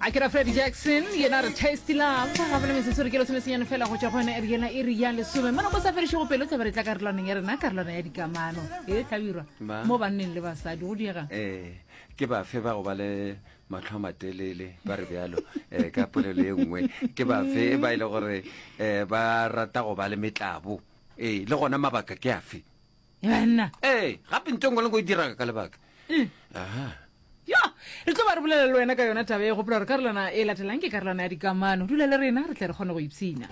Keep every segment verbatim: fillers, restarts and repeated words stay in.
A ke ra Freddie Jackson, yena re Tasty Love. Gape le metsotso re ke lesome senyane fela go tšwa go yona iri yela iri ya lesome. Mo nako sa fedišego pelo tla be re tla karolwaneng ya rena, karolwana ya dikamano. E hlabirwa Ba. mo banneng le basadi go diega. Eh, ke bafe ba go ba le mahlo a matelele ba re bjalo eh, ka polelo ye nngwe ke bafe ba e le gore eh, ba rata go ba le metlabo ee le gona mabaka ke afe Banna. ee gape ntho e nngwe le nngwe e diraga ka lebaka aha Ya, re tlo ba re bolela le wena ka yona taba e. Gopola gore karolwana e latelang ke karolwana ya dikamano. Dula le rena re tle re kgone go ipshina.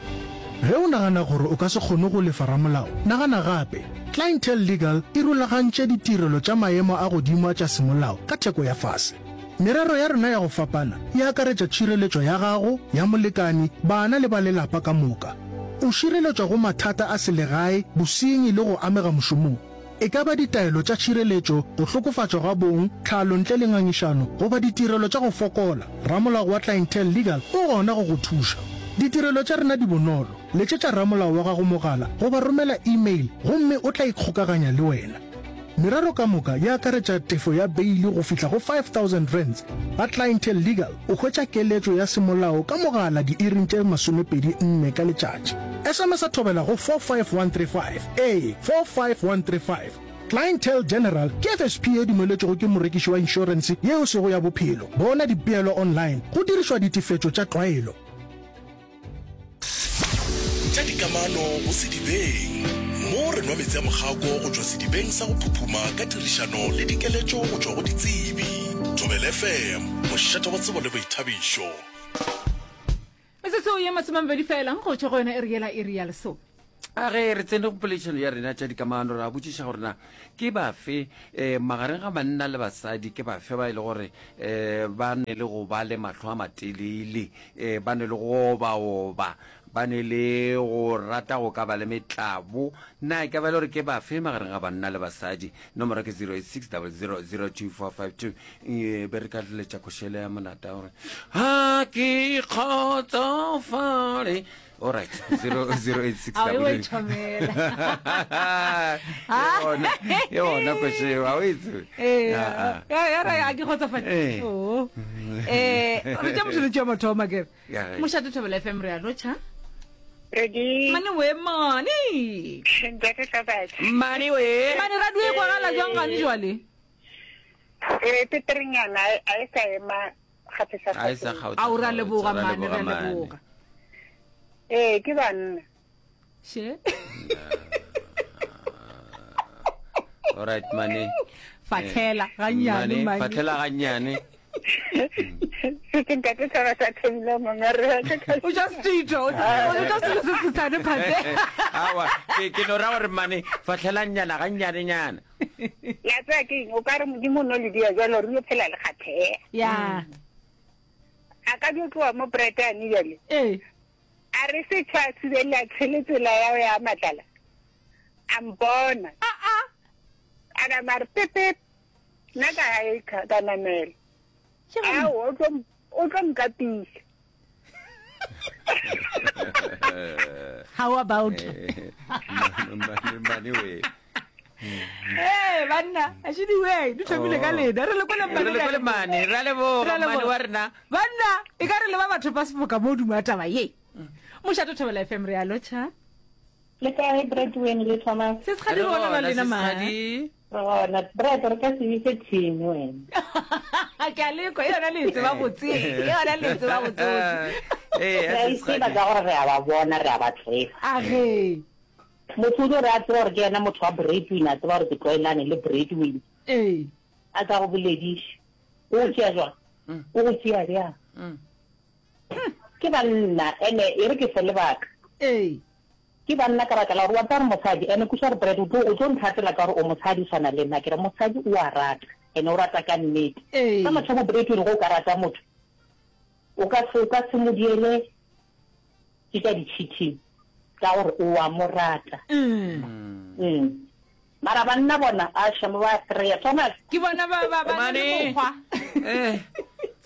Ge o nagana gore o ka se kgone go lefa ramolao, nagana gape. Clientele Legal e rulagantše ditirelo tša maemo a godimo a tša semolao ka theko ya fase. Merero ya rena ya go fapana e akaretša tšhireletšo ya gago, ya molekani, bana le ba lelapa ka moka. O šireletšwa go mathata a selegae, bosenyi le go amega mošomong. E ka ba ditaelo tša tšhireletšo, go hlokofatšwa ga bong, tlhalo ntle le ngangišano, goba ditirelo tša go fokola, ramolao wa Clientele Legal o gona go go thuša. Ditirelo tša rena di bonolo. Letšetša ramolao wa gago mogala goba romela email gomme o tla ikgokaganya le wena. Merero ka moka e akaretša tefo ya beili go fihla go five thousand rands. Ga Clientele Legal o hwetša keletšo ya semolao ka mogala diiring tše masomepedi nne ka letšatši. S M S a thobela go four five one three five, ee, four five one three five. Clientele General ke F S P ye dumeletšwego ke morekiši wa inšorense ye e sego ya bophelo. Bona dipeelo online go dirišwa ditefetšo tša tlwaelo. Tša dikamano go sedibeng. Mo re nwa meetse a mokgako go tšwa sedibeng sa go phuphuma ka tirišano le dikeletšo go tšwa go ditsebi. Thobela F M, mošate wa tsebo le boithabišo. Metsotso ye masomemabedi fela go tšwa go yona iri yela iri ya lesome. A ge re tsene go poledišano ya rena tša dikamano, ra botšiša gore na ke bafe um magareng ga banna le basadi, ke bafe ba e le gore um ba ne le go ba le mahlo a matelele, um ba ne le go obaoba, ba ne le go rata go ka ba le metlabo. Na e ka ba e le gore ke bafe magareng ga banna le basadi? Nomoro ke zero eight six double zero zero two four five two. E be re ka letša košele ya monata gore ha ke kgotsofale. All right, zero zero eight six A o double e thomela. Yona yona košeo a o e tsebe. Ee, Ah, ah. ya ya ra a ke kgotsofale. Eh. Oh. Eh, re tša motho tša mathomo ke. Ya ge. Mošate Thobela F M re a lotšha. Ready? Mane we mane. Ntate Hlabatse. Mane we. Mane radio e kwagala jwang gane jwale? Eh, peterenyana a e sa ema kgapetsa A e sa kgapetsa. kgaotsa A o ra kgaotsa, leboga ra mane, leboga ra mane. leboga. Eh, ke banna. She. All right, mane. Fatlhela gannyane Mane, mane. fatlhela gannyane. Se ntate Hlabatse a thomile mongare. O ja setito, o ja selo se se sane phate. Awa, ke ke no ra gore mane fatlhela nyana gannyane nyana. Ya tsaya ke eng? O ka re Modimo o no le dia jalo re yo phela le kgatheha. Ya. A ka dio tloa mo Bretane jale. Eh. A re se tshwa thibela tshele tsela ya ya matlala. A mpona. A a. A na mare pepe. Nna ka hae ka ka namela. Ao, o tlo o tlo nkapisa. How about? Mane mane we. Eh, banna, a she di way, di thomile ka lena. Re le kwele mane. Re le kwele mane, ra leboga, Ra leboga. mane wa rena. Banna, e ka re le ba batho ba sefoka mo duma taba ye. Mošate Thobela F M re a lotšha. Le kae Bradwin le Thomas? Se se gadi gona ba lena ma. Sesgadi. Re gona. Brad, re ka se bitse team wena. Ke a lekwa, e yona le tseba botse. E yona le tseba botse. Eh, Re a itseba ka gore re a ba bona, re a ba tseba. A ge. Motho o tlo re a tseba gore ke yena motho wa Bradwin, a tseba gore ke tlwaelane le Bradwin. Ee. A ka go bolediša. O go tšea jwang? O go tšea bjang? Ke banna, ene e re ke fe lebaka. Ee. Ke banna ka baka la gore wa tseba gore mosadi, ene kweša gore Brad o tlo, o tlo nthatela ka gore o mosadi o swana le nna. Ke re mosadi o a rata, ene o rata ka nnete. Ee. Ka mathomo Bradwin go o ka rata motho, o ka se, o ka se mo diele ke tša di-cheating ka gore o a mo rata. Mm. Mm. Mara banna bona a shamo ba kry-a. Thomas. Ke bona ba, ba, ba na le Mane. mokgwa. Eh.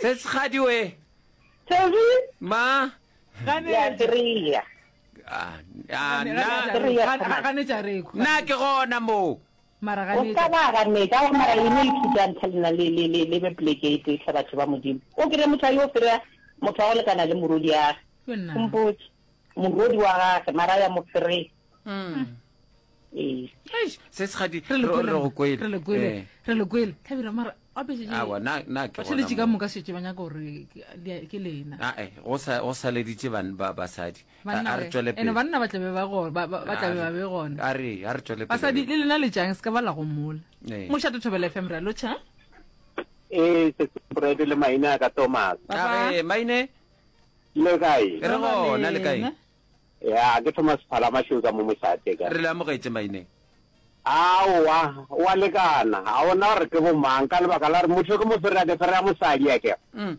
Sesgadi we. Toby? Ma. Ya kry-a. Ah, ah, Gane- nna gane- gane- ganetša re kwa. nna ke gona mo. Mara O ska ba ganetša. Aowa, mara e no ithuta ntha lena le, le, le, le be poleke e tee hle batho ba Modimo. O kry-e motho a yo fereya motho wa go lekana le morwediage. O mpotše. Morwedi wa gage, mara a ya mo fereya. Ee. Eish, se segadi Re le re kwele, re go kwele. re le kwele, Eh. re le kwele. Hlabirwa, mara gape šetše- Aowa, na- na ke gona batheeletši ka mo. moka šetše ba nyaka gore ke- di- ke lena. Ah, eh, go sa go saleditše ban ba basadi. A Banna a re we. tšwele Ene pele. banna ba tlabe ba go- ba- ba- ba tlabe ba be gona. A re a re tšwele pele. Basadi le lena le tšang se ka ba la gomola. Ee. Mošate Thobela F M re a lotšha. Ee, Sesebred le maina a ka Thomas. A re maine Le kae? re gona le kae? Ya, ke Thomas Phala Mašweu ka mo mošate ka. Re le amogetše maine. Aowa, wa lekana. Ga ona gore ke bomang ka lebaka la gore motho ke mo fereya ke fereya mosadi a kere. Mm.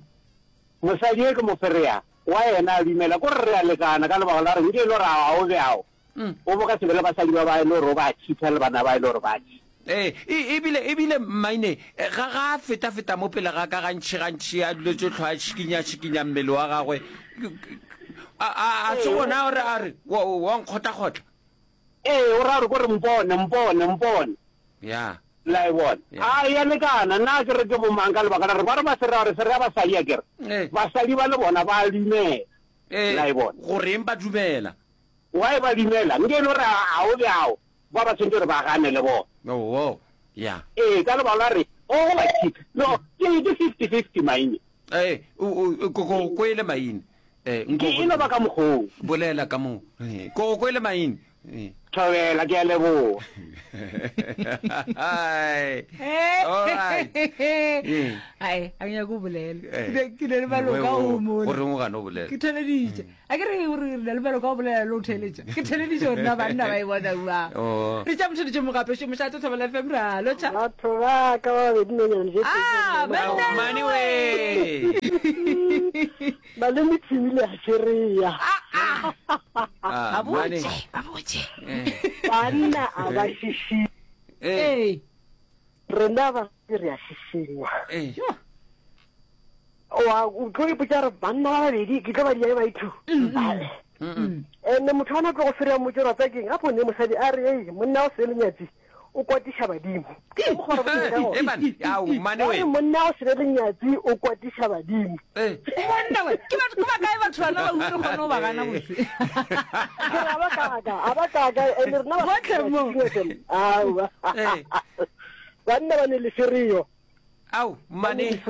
Mosadi e ke mo fereya wa yena a dumela ko re re a lekana ka lebaka la gore nke e le gore ga o bjao. Mm. O bo ka se be le basadi ba ba e le gore o ba cheater le bana ba e le gore ba cheater. Ee, e, ebile, ebile maine, eh, ga, ga a feta-feta mo pele ga ka gantši, gantši, a duletše hlwa a šikinya, šikinya mmele wa gagwe. A, a, a se gona gore a re, wa, wa nkgotla-kgotla. Ee, o ra gore ko re mpone, mpone, mpone. Ya. La e bona. Ya. A ya lekana, nna ke re ke bomang ka lebaka la gore ba re ba se ra gore se re basadi a kere. Ee. Basadi ba le bona ba dumela. Ee, La e bona. goreng ba dumela? Why ba dumela? Nke e le gore a o bjao, ba ba tshwanetse gore ba gane le bona. Oh, oh, ya. Ee, ka lebaka la gore o go ba cheater. No, ke ke fifty fifty maine. Ee, o, o, ko, ko, ko ele maine. Eh, nko Ke e no ba ka mokgoo. Bolela ka moo. Eh, ko, ko ele maine. Eh. Thobela, ke a leboha. Ai. All right. Eh. Ai, a ke nyake go bolela. Eh. Ke, ke na le maloka Wewe, o mola. o reng o gana go bolela? Ke theleditše. A ke re gore re na le maloka o bolela le o theletša. Ke theleditše gore na banna ba e bona jwang. Oh. Re tša motheletše mogape, šo mošate Thobela F M, re a lotšha. Batho ba ka ba babedi nonyane je Ah, pedi. banna Mane we. Malome Tshimile a tšereya. Ah, ah. Ah, Ba mane. botše, ba botše. Eh. Banna a ba šišinya. Eh. Ee. Rena ba re a šišinya. Eh. Wa o tlo ipotša gore banna ba babedi ke tlo ba dia ba two. Ene motho a na tlo go fereya mmotse gore wa tseba keng, gape o ne mosadi a re, ei, monna o se lenyatsi o kwatiša badimo. Ke mokgwa wa re botša ka Eh, man, ao, mane Ba we. re monna o se lenyatsi o kwatiša badimo. Eh. Monna we, ke batho, ke ba kae batho bana ba utlwe kgone go ba gana botse? Ke re, a ba kaka, a ba kaka, ene rena ba Botlhe mo. Aowa. Eh. Banna ba ne le fereyo. Ao, mane.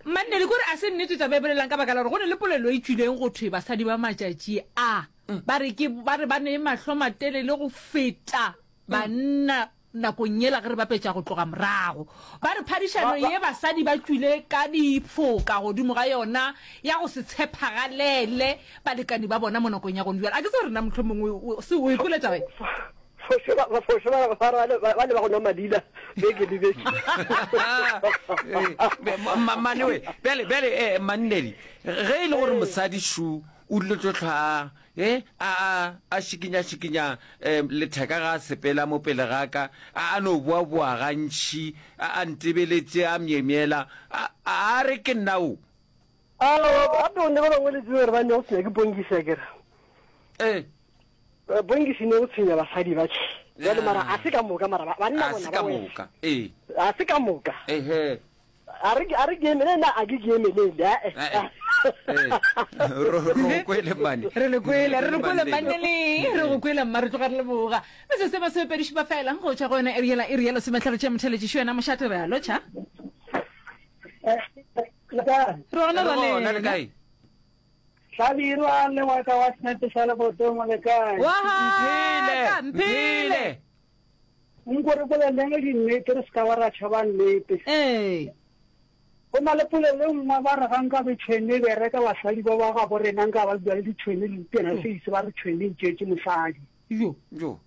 Manne le kore a se nnete taba e bolelang ka baka la gore go ne le polelo e tswileng go thwe basadi ba matšatši a ba re ke ba re ba ne mahlo matelele go feta banna nakong yela ge re bapetša go tloga morago. Ba re phadišano ye basadi ba tšwile ka difoka godimo ga yona ya go se tshepagalele balekani ba bona mo nakong ya gone bjale. A ke tsebe gore na mohlomongwe o, o, se o ikwele taba e? Foše ba, ba foše ba, ba, ba, ba, ba le ba go nwa madila beke le beke. Eh, ma, mane we, bjale, bjale, eh, mannedi, ge e le gore mosadi šu o dilo tlo hlwa, eh, a, a, a šikinya, šikinya, eh, letheka ga a sepela mo pele ga ka, a, a no boa-boa gantši, a, a ntebeletše, a myemyela, a, a re ke nna o. Aowa, gape o ne ba bangwe le tsebe gore ba ne go tshwenya ke Bongisi a kere. Eh. Eh, Bongisi ne go tshwenya basadi ba tšhe. Jwale mara a se ka moka, mara ba, banna A bona se ba ka wela. moka, ee. A se ka moka. Ehe. A re, a re ke emele, nna a ke ke emelele, a, eh. Eh, eh. Ro, ro go kwele, mane. Re le kwele, re le kwele, Mane. mane le, re go kwele, mma, re tloga re leboga. Mme se se masomepedi šupa fela, go tšwa go yona iri yela, iri ya lesomehlano tša motheletši, šo yena mošate, re a lotšha. Eh, le kae? Re gona, Re ra gona, le lena. kae? Hlabirwa le wa ka wa senepe sa lebotong, le kae? Wa Mphele, ka, mphele. mphele. Nko re boleleng dinnete, re se ka ba ra tšhaba nnete. Ee. Go na le polelo e nngwe ba re ga nka be tšhwene e bereka basadi ba ba gabo rena nka ba bua le ditšhwene le ditena se ise ba re tšhwene e tšeetše mosadi. Yo. Yo.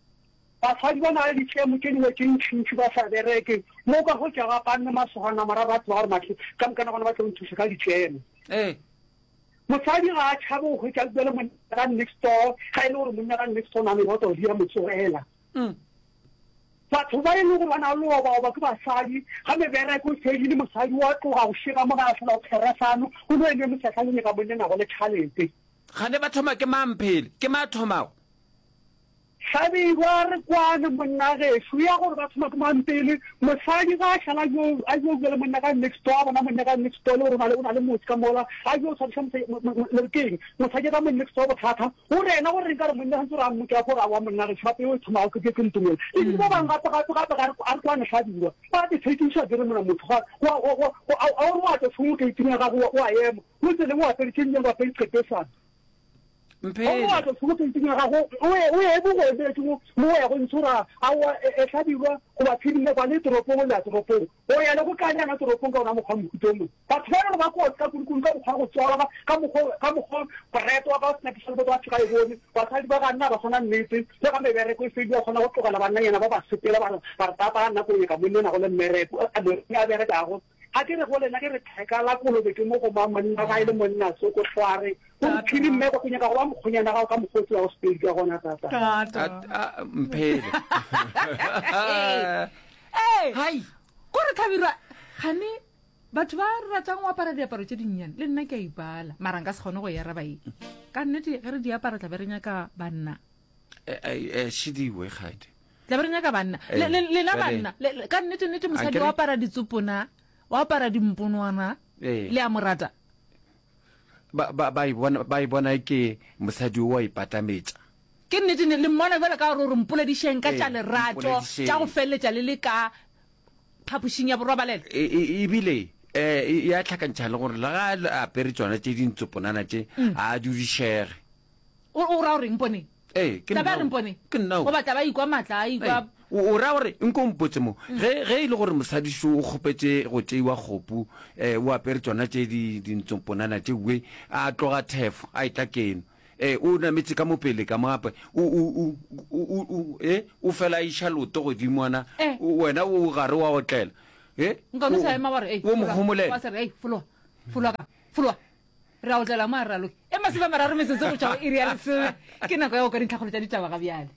Basadi ba na le ditšhemo tše dingwe tše ntšhintšhi ba sa bereke. Mo ka go tša ga panne masogana mara ba tseba gore mahle ka mokana gona ba tlo nthuša ka ditšhemo. Ee. Mosadi ga a tšhabe go hwetša bua le monna ka next door, ga e le gore monna ka next door o na le meboto di a mo tsogela. Mm. Batho ba e leng gore ba na le obaoba ke basadi, ga mebereko e fedile, mosadi wa tloga go šega mo ga a hlola go pheresano, go no eme mosehla le nyaka monna nago le tšhalete. Gane ba thoma ke mang phele? Ke mang a thomago? Hlabirwa re kwane monna gešo ya gore ba thoma ke mang pele mosadi ga a šala yo a yo bua le monna ka next door a bona monna ka next door le gore o na le o na le motse ka mola a yo tshwariša le re keng mosadi ka mo next door bothata o re ena gore reng ka re monna santse re a mmotša gore a wa monna gešo gape yo e thomago ke ke ntomela ebile ba bangwe gape gape gape ga a re kwane Hlabirwa ba te tshekiša ke re mona motho ga wa wa wa a o re wa tšwa tšhomo gate-ing ya gago wa ema o tseleng o apere tše nnyane o apere qetesana Mphele. O tlo tsholo ya gago o ye o ye bo go emetše mo mo o ya go ntshora a wa e hlabirwa goba phirime kwa le toropong o le ya toropong o ya le go kanyana toropong ka ona mokgwa mohuta o mongwe batho ba e le gore ba kotsi ka kudu-kudu ka mokgwa wa go tswalwa ka mokgwa ka mokgwa boreto wa ka o sena ke ba ga e bone basadi ba ga nna ba swana nnete le ga mebereko e fedi ba kgona go tlogela bannanyana ba ba sepela ba re ba re papa nna ko nyaka monna o nago le mmereko a berekago Ga ke re go lena, ke re theka la kolobe ke mo go mang monna ga e le monna tsoko hlware o re phiri mmeko ke nyaka go ba mokgonyana gago ka mokgwa o tsebago Sepedi ka gona tata. Tata. A, a, mphele. Ee. Hai. Ko re Hlabirwa, gane batho ba ratang go apara diaparo tše dinnyane le nna ke a ipala mara nka se kgone go e araba ye. Ka nnete ge re di apara tla be re nyaka banna. Eh, eh, eh, šidiwe kgadi. Tla be re nyaka banna. Eh, Le, le, lena bjale. banna, le, le, ka nnete nnete mosadi Akere- o apara ditsopona, o apara dimponwana, Eh. le a mo rata. Ba, ba, ba e bona, ba e bona e ke mosadi o wa ipatametša. Ke nnete ne, le mmona bjalo ka gore o re mpoledišeng ka Eh, tša lerato, mpoledišeng. tša go feleletša le le ka phapošing ya borobalelo. E, e, ebile eh, e, e a hlakantšha le gore le ga a apere tšona tše dintsoponana tše, a dudišege. O, o ra gore mponeng? Ee, ke Tla ba nna re o. mpone. Ke nna o. Goba tla ba ikwa matla, a ikwa. Ee, o, o ra gore nko mpotse mo, ge, ge e le gore mosadi šo o kgopetše go tšeiwa kgopu, eh, o apere tšona tše di, dintsomponana tše we, a tloga thefo, a etla keno, eh, o nametše ka mo pele ka mo gape, o, o, o, o, o, o, eh, o fela a iša leoto godingwana, Eh. o, wena o gare wa otlela, eh, Nka no o, sa ema wa re, ei, o mo fologa. homolela. Wa se re, ei, fologa, fologa ka, fologa. Re a otlela mo a re raloke. E masome a mararo metsotso go tšwa go iri ya lesome. Ke nako ya go kwa dintlhakgolo tša ditaba ga bjale.